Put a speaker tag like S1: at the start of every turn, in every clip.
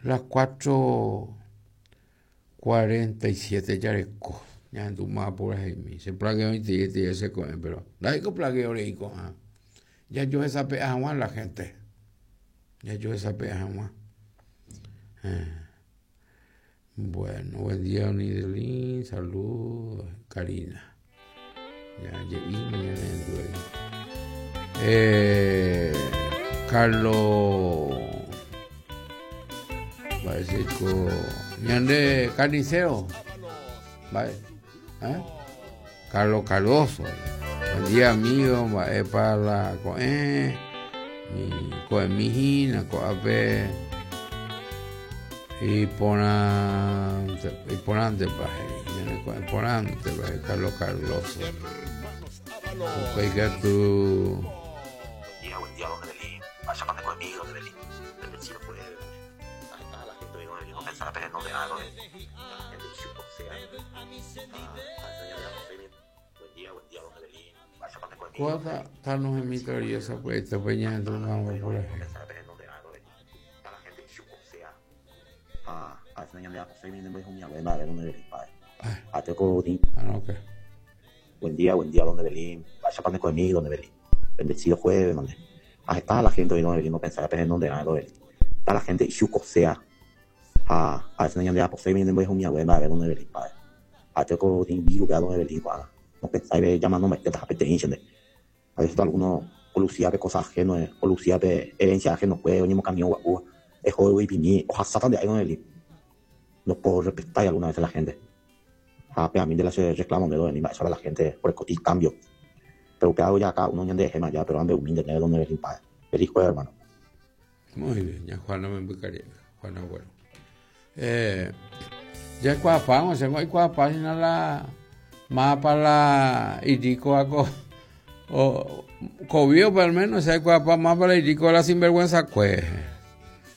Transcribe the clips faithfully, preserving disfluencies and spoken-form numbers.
S1: Las cuatro cuarenta y siete jareko. Ñahendúma puraheimi. Che plagueo itei che ko'ẽ, pero ndaha'éiko plagueo rei ko'ã. Jajohesape'a hag̃ua la gente. Jajohesape'a hag̃ua. Eh. Bueno, buen día, Onidelín. Saludos, Karina. Ya je'íma ñanerendu. Eh, Carlos. Mba'éiko ñande carnicero. Vale. ¿Eh? Carlos Cardoso. Buen día, amigo. Mba'épa la ko'ẽ. Mi ko'ẽmi hína ko'ápe. Iporãnte, iporãntepa he'i. Ñane ko'ẽ porãntepa Carlos Cardoso. Upéi katu.
S2: Buen día, buen día, don Evelyn. Vaya pande conmigo, don Evelyn. Bendecido fue. Ahí está la gente de don Evelyn. No pensará pero no de algo. La gente chupo sea. Ah, Buen día, buen día, don Evelyn. Vaya pande conmigo.
S1: Kóva Thanos hemitoria sapy'aite pe ñahendúma por ahí.
S2: Pensará pero no de algo. Está la gente chupo sea. Ah, a veces ñande José viene de un abuela de don Evelyn, padre. Ateco
S1: Ah, no, ¿qué?
S2: Buen día, buen día, don Evelyn. Vaya pande conmigo, don Evelyn. Bendecido jueves, donde. Ah, está la gente hoy, don Evelyn, no pensará pero en donde algo. Está la gente chupo sea. Ah, a veces ñande José viene de un abuela de don Evelyn, padre. Ateco vivo don Evelyn, padre. No pensáis llamándome este tapete A veces algunos lucía de cosas ajenas, o lucía de herencia ajena, pues, o mismo camión, guapu, es juego y pini, o hasatan de ahí, don Evelyn. No puedo respetar alguna vez a la gente. Ah, pero a mí de la se reclamo de don Evelyn, eso a la gente por el cotín cambio. Pero que hago ya acá, uno de gema ya, pero ande humilde, de don Evelyn, padre. Feliz jueves, hermano.
S1: Muy bien, ya Juana me embucaría. Juana, bueno. Eh, ya cuapán, o sea, hay cuapán, la más para la irico ako o cobio pero al menos se cuapán más para la irico la sinvergüenza cue.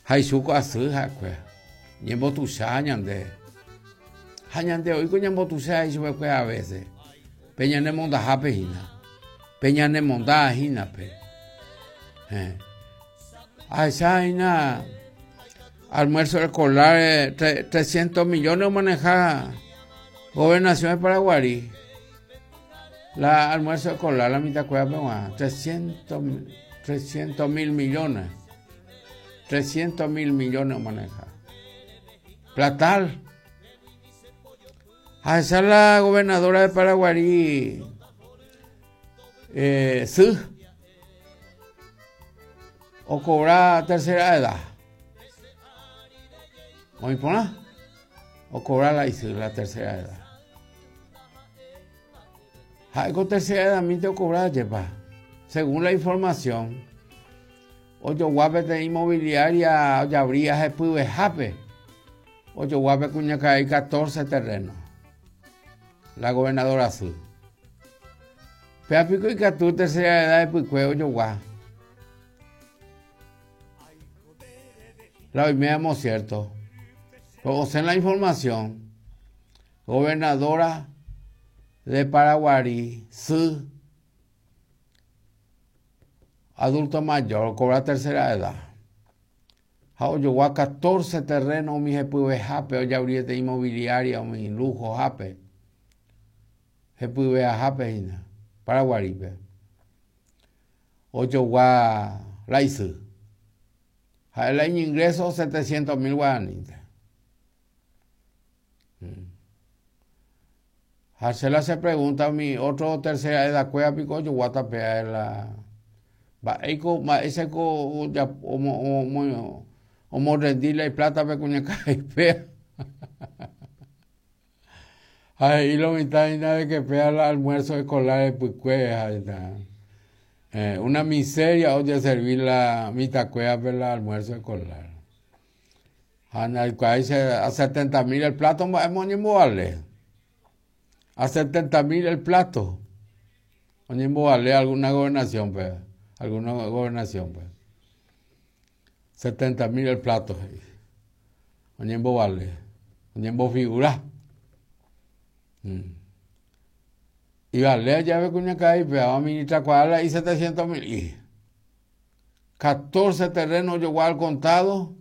S1: Haisuko así ja cue. Ñembo tusa ñande. Ha ñande oiko ñembo tusa y cue a veces. Peña ne monda jape hina. Peña ne monda hina pe. Eh. Esa hina almuerzo escolar eh, trescientos millones maneja Gobernación de Paraguarí. La almuerzo escolar, la mitad cueva, trescientos mil millones. trescientos mil millones maneja. Platal. A esa es la gobernadora de Paraguarí. Eh, sí. O cobra tercera edad. ¿O impone? O cobra la, la tercera edad. Algo tercera edad, a mí te cobra, yepa. Según la información, ocho guapes de inmobiliaria, ya habría jape, jape. Ocho guapes cuña que hay catorce terrenos. La gobernadora azul. Pero pico y catú tercera edad de pico, ocho guap. La hoy cierto. Pero o sea, en la información, gobernadora de Paraguarí, su adulto mayor, cobra tercera edad. Yo a catorce terrenos, mi jepuve jape, o ya de inmobiliaria, o mi lujo jape. Jepuve a jape, Paraguarí. Ocho gua la isu. El año ingreso setecientos mil guaraníes. Marcela se pregunta a mi otro tercera edad cueva pico yo guatapea la va eco ma ese co ya o o o mo rendirle plata pe cuña caipea. Ahí lo mitad y nada de que pea el almuerzo escolar de Pucuea, eh, una miseria oye servir la mitad cueva para el almuerzo escolar. A setenta mil el plato, vale. A setenta mil el plato. Vale alguna gobernación, pues. Alguna gobernación, pues. setenta mil el plato. Vale. Figura. Mm. Y vale, ya ve cuña caí, pero a ministra cuadra y setecientos mil. Y catorce terrenos yo al contado.